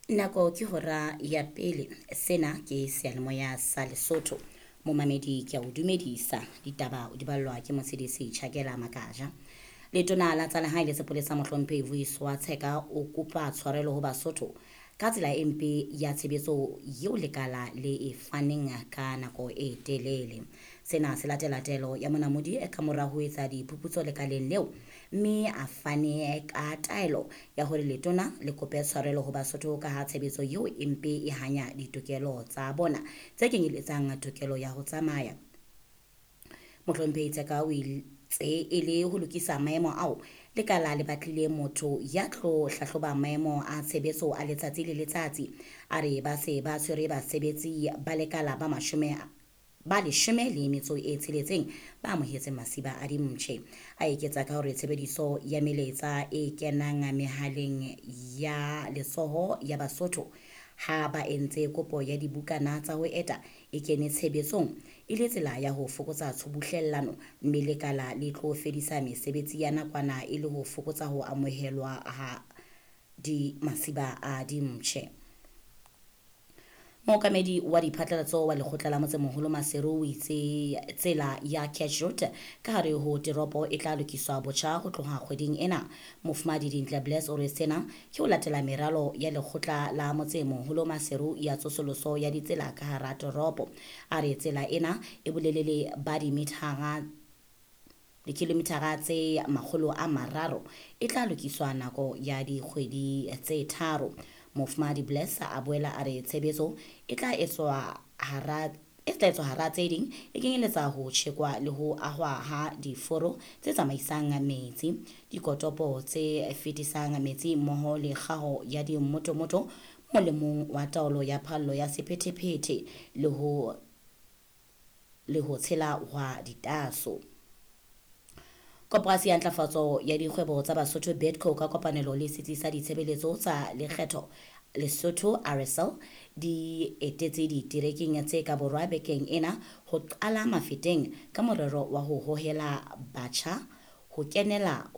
Nako ke hora ya pele. Sena ke seyalemoya sa Lesotho. Momamedi ke a o dumedisa. Ditaba o di ballwa ke Motshedisi Chakela Makaja. Letona la tsa lehae le sepolesa Mohlomphehi Vuyiswa Tsheka o kopa tshwarelo ho Basotho ka tsela e mpe ya tshebetso eo lekala le e faneng ka nako e telele. Sena se latela taelo ya monamodi ka mora ho etsa diphuputso lekaleng leo mme a fane ka taelo ya hore letona le kope tshwarelo ho Basotho ka ha tshebetso eo e mpe e hanya ditokelo tsa bona tse kenyeletsang tokelo ya ho tsamaya. Mohlomphehi Tsheka o itse e le ho lokisa maemo ao lekala le batlile motho ya tlo hlahloba maemo a tshebetso a letsatsi le letsatsi. A re ba se ba tshwere basebetsi ba lekala ba mashome ba leshome le metso e tsheletseng ba amohetseng masiba a dimpshe. A eketsa ka hore tshebediso ya melaetsa e kenang mehaleng ya letsoho ya Basotho ha ba entse kopo ya dibukana tsa ho eta e kene tshebetsong e le tsela ya ho fokotsa tshubuhlellano mme lekala le tlo fedisa mesebetsi ya nakwana e le ho fokotsa ho amohelwa ha di masiba a dimpshe. Mookamedi wa diphatlalatso wa lekgotla la motsemoholo Maseru o itse tsela ya Cash Road ka hare ho teropo e tla lokiswa botjha ho tloha kgweding ena. Mofumahadi Dintle Bless o re sena ke ho latela meralo ya lekgotla la motsemoholo Maseru ya tsosoloso ya ditsela ka hara toropo. A re tsela ena e bolelele ba dimithara dikilomitara tse 300 e tla lokiswa nako ya dikgwedi tse tharo. Mofumahadi Bless a boela a re tshebetso e tla etswa hara e tla etswa hara tse ding e kenyeletsa ho tjhekwa le ho ahwa ha diforo tse tsamaisang metsi, dikotopo tse fetisang metsi mmoho le kgaho ya dimmotomoto molemong wa taolo ya phallo ya sephethephethe le ho tshela hwa ditaso. Koporasi ya Ntlafatso ya Dikgwebo tsa Basotho Bidco ka kopanelo le Setsi sa Ditshebeletso tsa Lekgetho Lesotho RSL di etetse diterekeng tse ka borwa bekeng ena ho qala Mafeteng ka morero wa ho hohela batjha ho kenela ho